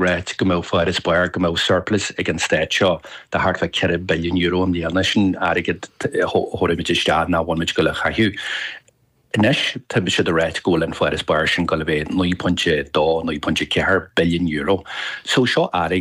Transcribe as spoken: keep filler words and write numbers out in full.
Ráit go mbeadh farasbarr go mbeadh surplus ag an stát seo de thart fá ceithre billiún euro i mbliana sin airgead a thabharfaimid isteach nach bhfuilimid ag dul a chaitheamh. Anois tá siad ag ráit go bhfuil an farasbarr sin ag dul a bheith naoi pointe dó naoi pointe ceathair billiún euro. So seo airgead